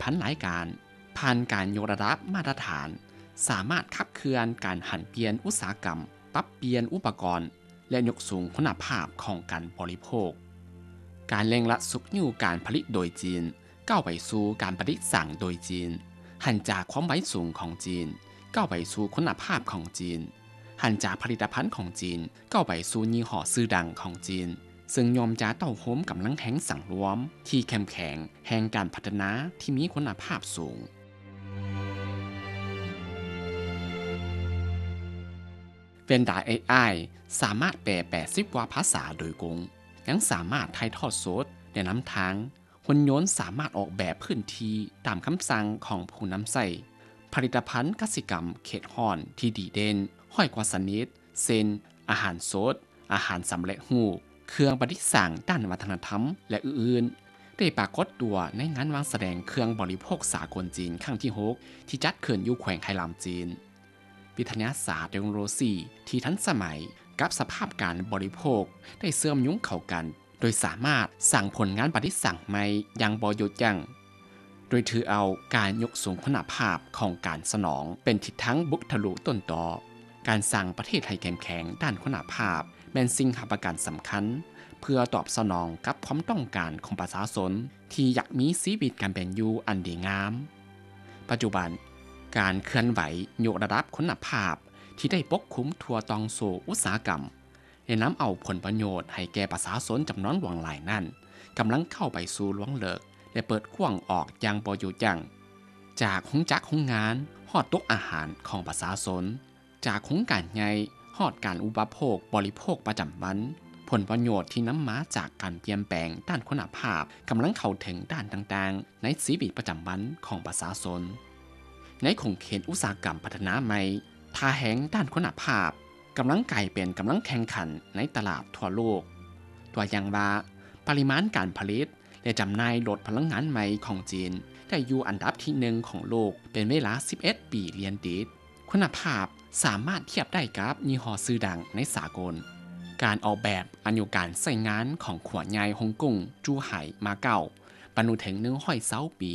ອັນຫຼາຍການ ຜ່ານການຍົກລະດັບມາດຕະຖານ ສາມາດຂັບເຄື່ອນການຫັນປ່ຽນອຸດສາຫະກຳ, ປັບປ່ຽນອຸປະກອນ ແລະ ຍົກສູງຄຸນນະພາບຂອງການບໍລິໂພກ. ການເລັ່ງລັດຊຸກຍູ້ການຜະລິດໂດຍຈີນ ກ້າວໄປສູ່ການປະດິດສ້າງໂດຍຈີນ, ຫັນຈາກຄວາມໄວສູງຂອງຈີນ ກ້າວໄປສູ່ຄຸນນະພາບຂອງຈີນ, ຫັນຈາກຜະລິດຕະພັນຂອງຈີນ ກ້າວໄປສູ່ຍີ່ຫໍ້ຊື່ດັງຂອງຈີນ, ເຊິ່ງຍ່ອມຈະເຕົ້າໂຮມກຳລັງແຮງສັງລວມທີ່ເຂັ້ມແຂງແຫ່ງການພັດທະນາທີ່ມີຄຸນນະພາບສູງ. ເວັນດາ ເອໄອ ສາມາດແປແປດສິບກວ່າພາສາໂດຍກົງ, ຍັງສາມາດຖ່າຍທອດສົດ ແນະນຳທາງ, ຫຸ່ນຍົນສາມາດອອກແບບພື້ນທີ່ຕາມຄຳສັ່ງຂອງຜູ້ນຳໃຊ້, ຜະລິດຕະພັນກະສິກຳເຂດຮ້ອນທີ່ດີເດັ່ນຮ້ອຍກວ່າຊະນິດ ເຊັ່ນ ອາຫານສົດ, ອາຫານສຳເລັດຮູບ, ເຄື່ອງປະດິດສ້າງດ້ານວັດທະນະທຳ ແລະ ອື່ນໆ ໄດ້ປາກົດຕົວໃນງານວາງສະແດງເຄື່ອງບໍລິໂພກສາກົນຈີນຄັ້ງທີຫົກ ທີ່ຈັດຂຶ້ນຢູ່ແຂວງໄຄລຳຈີນ. ວິທະຍາສາດເຕັກໂນໂລຊີທີ່ທັນສະໄໝກັບສະພາບການບໍລິໂພກໄດ້ເຊື່ອມໂຍງເຂົ້າກັນ ໂດຍສາມາດສ້າງຜົນງານປະດິດສ້າງໃໝ່ຢ່າງບໍ່ຢຸດຢັ້ງ, ໂດຍຖືເອົາການຍົກສູງຄຸນນະພາບຂອງການສະໜອງເປັນທິດທາງບຸກທະລຸຕົ້ນຕໍ. ການສ້າງປະເທດໃຫ້ເຂັ້ມແຂງດ້ານຄຸນນະພາບແມ່ນສິ່ງຮັບປະກັນສຳຄັນ ເພື່ອຕອບສະໜອງກັບຄວາມຕ້ອງການຂອງປະຊາຊົນທີ່ຢາກມີຊີວິດການເປັນຢູ່ອັນດີງາມ. ປັດຈຸບັນ, ການເຄື່ອນໄຫວຍົກລະດັບຄຸນນະພາບທີ່ໄດ້ປົກຄຸມທົ່ວຕ່ອງໂສ້ອຸດສາຫະກຳ ແລະ ນຳເອົາຜົນປະໂຫຍດໃຫ້ແກ່ປະຊາຊົນຈຳນວນຫຼວງຫຼາຍນັ້ນ ກຳລັງກ້າວໄປສູ່ລວງເລິກ ແລະ ເປີດກວ້າງອອກຢ່າງບໍ່ຢຸດຢັ້ງ, ຈາກໂຮງຈັກໂຮງງານຮອດໂຕະອາຫານຂອງປະຊາຊົນ, ຈາກໂຄງການໃຫຍ່ຮອດການອຸປະໂພກບໍລິໂພກປະຈຳວັນ. ຜົນປະໂຫຍດທີ່ນຳມາຈາກການປ່ຽນແປງດ້ານຄຸນນະພາບກຳລັງເຂົ້າເຖິງດ້ານຕ່າງໆໃນຊີວິດປະຈຳວັນຂອງປະຊາຊົນ. ໃນຂົງເຂດອຸດສາຫະກຳພັດທະນາໃໝ່, ທ່າແຮງດ້ານຄຸນນະພາບກຳລັງກາຍເປັນກຳລັງແຂ່ງຂັນໃນຕະຫຼາດທົ່ວໂລກ. ຕົວຢ່າງວ່າ, ປະລິມານການຜະລິດ ແລະ ຈຳໜ່າຍລົດພະລັງງານໃໝ່ຂອງຈີນໄດ້ຢູ່ອັນດັບທີໜຶ່ງຂອງໂລກເປັນເວລາສິບເອັດປີລຽນຕິດ. ຄຸນນະພາບສາມາດທຽບໄດ້ກັບຍີ່ຫໍ້ຊື່ດັງໃນສາກົນ. ການອອກແບບອາຍຸການໃຊ້ງານຂອງຂົວໃຫຍ່ຮົງກົງ, ຈູໄຫ, ມາເກົາ ບັນລຸເຖິງໜຶ່ງຮ້ອຍຊາວປີ.